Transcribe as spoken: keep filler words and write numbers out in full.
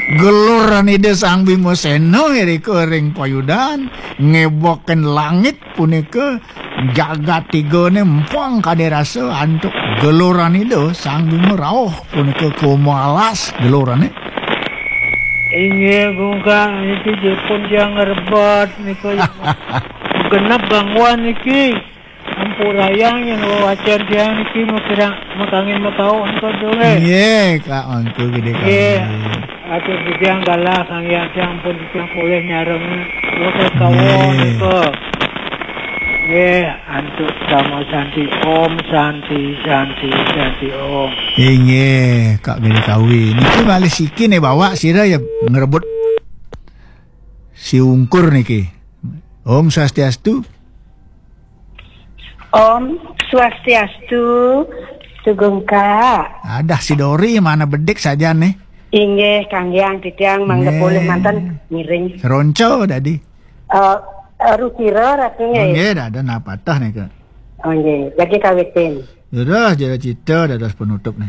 Geluran Ida Sang Bima Sena irika ring payudan, ngebokin langit punika jagat tigane empang kade rasa antuk geluran Ida Sang Bima rauh punika kumalas gelurane. Inggih, Gungkak, niki jipun tiang ngrebet nika. Genep gangguan niki. Ampurayang yen wewacen tiang niki makirang makangin makauh nika dulur. Nggih, Kak Mangku Gede Nggih. Kami. Atur titiang galah Sang Hyang Tiang pun titiang polih nyareng. Wonten kawon Nggih. Nika. Nggih, antuk sama santi. Om santi, santi, santi, om. Inggih, Kak Gede Kawi. Niki malih siki nih bawa sira ya ngerebut si ungkur niki. Om Swastiastu. Om Swastiastu, Sugeng Kak. Adah si Dori mana bedik saja nih. Inggih, kanggiang titiang mangga Nggih. Polih mantan ngiring. Seronco tadi. Eh, Rutira Ratu nggih. Nggih, dah ada napa tah nih, Kak. Oh, nggih. Jadi kawitin. Terus jadi cerita dados penutup nih.